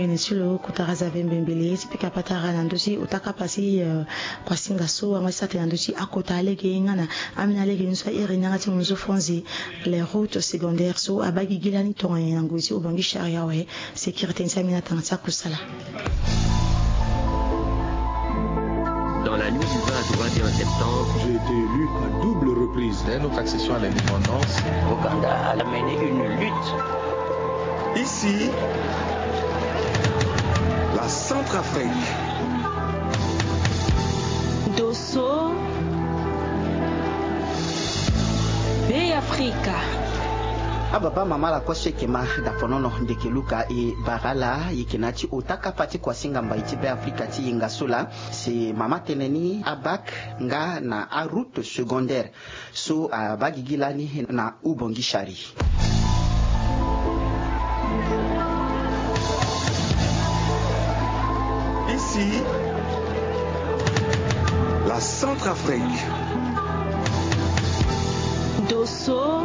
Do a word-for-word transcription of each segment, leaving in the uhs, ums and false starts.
Ene ti lo kotara zave mbembele ti pika patara na ndö ti ota kapa ti kuasinga so angba ti sa tene na ndö ti akota alege nga na ambeni alege ni so airi ni yanga ti munzu fonzi. Les routes secondaires so abaa gigi lani tongana nyen na ngoi ti obongi charia awe? Sécurité ni ti ambeni atanga ti akusala. Dans la nuit du vingt au vingt et un septembre, j'ai été élu à double reprise. Dès notre accession à l'indépendance, Ouganda a mené une lutte. Ici, la Centrafrique. Dosso, Be Afrika. Ababa mama la kue so eke ma daponono ndeke luka e bara ala yeke na ya ti ota kapa ti kuasinga mbai ti Be Afrika ti yenga so laa. Si mama tene ni abac nga na aroute secondaire so abaa gigi lani na ubongi chari. Ici, la Centrafrique. Dosso,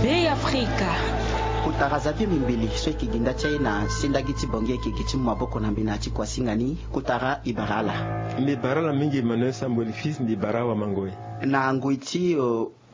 Be Afrika. Kotara zave mbembele so eke gi nda ti aye na sendagi ti bongi eke gi ti mu maboko na mbena ti kuasinga ni. Kotara e bara ala. Mbi bara ala mingi Emmanuel Sambo Elifis, mbi bara awamangoi. Na ngoi ti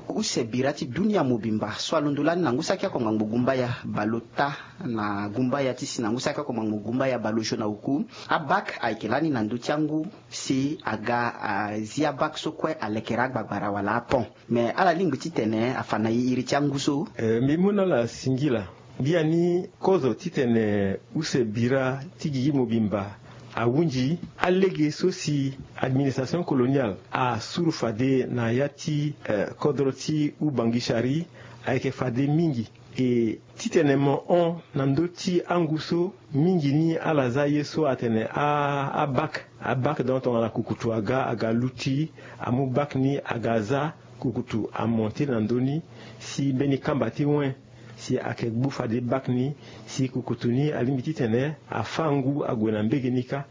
use bira ti dunia mobimba so alondo lani na ngu saki oko ngbangbo gumbaya baleota na gumbaya ti si na ngu saki oko ngbangbo gumbaya baleosio na oku. Abac ayeke lani na ndö ti angu si aga azi abac so kue alekere agbagbara wala apont. Me ala lingbi titene afa na e iri ti angu so. Mbi mu na ala singila. Biani kozo titene use bira ti gigi mobimba ahunzi alege so si administration coloniale asuru fade na ya ti kodro ti ubangishari ayeke fade mingi. E titene mo hon na ndö ti angu so mingi ni ala za ye so atene abac. Abac donc tongana kukutu aga aga luti amu bac ni aga za kukutu amonte na ndö ni si mbeni kamba ti wen si ayeke gbu fade bac ni si kukutu ni alingbi titene afâ ngu ague na mbege ni kâ.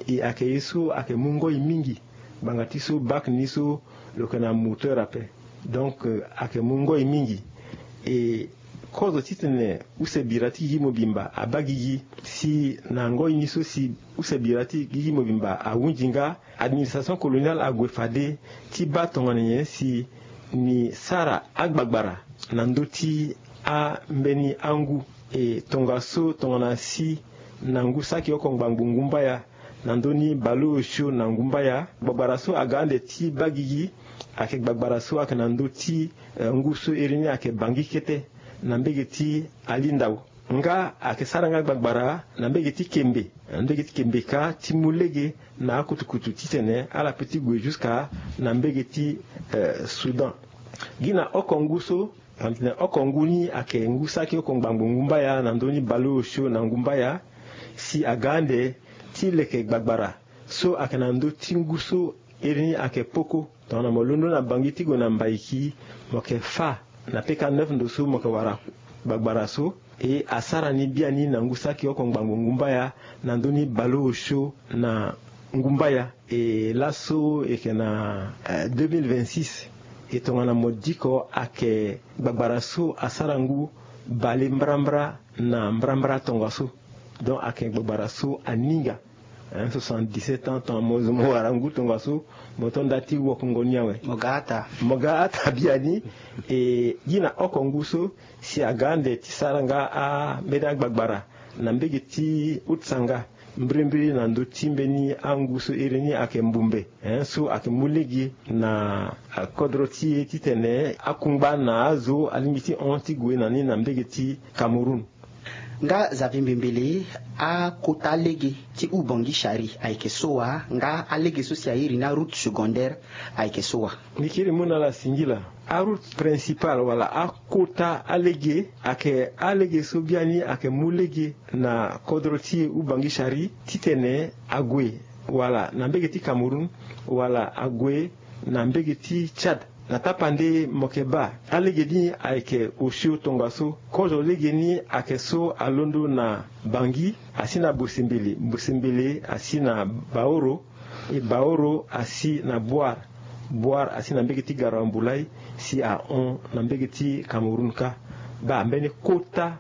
E ayeke ye so ayeke mu ngoi mingi ngbanga ti so bac ni so lo yeke na moteur ape. Donc ayeke mu ngoi mingi. E kozo titene use bira ti gigi mobimba abaa gigi si na ngoi ni so si use bira ti gigi mobimba ahunzi nga. Administration coloniale ague fade ti baa tongana nyen si ni sara agbagbara na ndö ti ambeni angu. E tongaso tongana si na ngu saki oko ngbangbo ngumbaya na ndö ni baleosio na ngumbaya gbagbara so aga ande ti baa gigi ayeke gbagbara so ayeke na ndö ti ngu so iri ni ayeke bangi kete na mbege ti alindao. Nga ayeke sara nga gbagbara na mbege ti kembe na mbege ti kembe kâ ti mu lege na akutukutu titene ala pe ti gue jusqu'à na mbege ti soudan. Gi na oko ngu so titene oko ngu ni ayeke ngu saki oko ngbangbo ngumbaya na ndö ni baleosio na ngumbaya si aga ande ti leke gbagbara so ayeke na ndö ti ngu so iri ni ayeke poko. Tongana mo londo na bangi ti gue na mbaiki mo yeke fâ na peka neuf ndo so mo yeke wara gbagbara so. E asara ni biani na ngu saki oko ngbangbo ngumbaya na ndö ni baleosio na ngumbaya. E laso e yeke na deux mille vingt-six. E tongana mo diko ayeke gbagbara so asara ngu bale mbrambra na mbrambra tongaso. Donc ayeke gbagbara so aninga. Soixante-dix-sept ans tongana mo zo mo wara ngu tongaso mo to nda ti wokongo ni awe. Mo ga ata biani. E gi na oko ngu so si aga ande ti sara nga ambeni agbagbara na mbege ti utsanga mbirimbiri na ndö ti mbeni angu so iri ni ayeke mbumbe so ayeke mu lege na kodro ti e titene akungba na azo alingbi ti hon ti gue na ni na mbege ti Cameroun. Nga Xavier Mbembele, akota lege ti Ubangui Chari ayeke so wa? Nga alege so si a iri ni aroute secondaire ayeke so wa? Mbi kiri mu na ala singila. Aroute principale wala akota alege ayeke alege so biani ayeke mu lege na kodro ti Ubangui Chari titene ague wala na mbege ti Cameroun wala ague na mbege ti Tchad. Na tapande mo yeke baa alege ni ayeke osio tongaso. Kozo lege ni ayeke so alondo na Bangui asi na Bosembele, Bosembele asi na Baoro, e Baoro asi na Bouar, Bouar asi na mbege ti Garoua Mboulay si ahon na mbege ti Cameroun kâ. Baa mbeni kota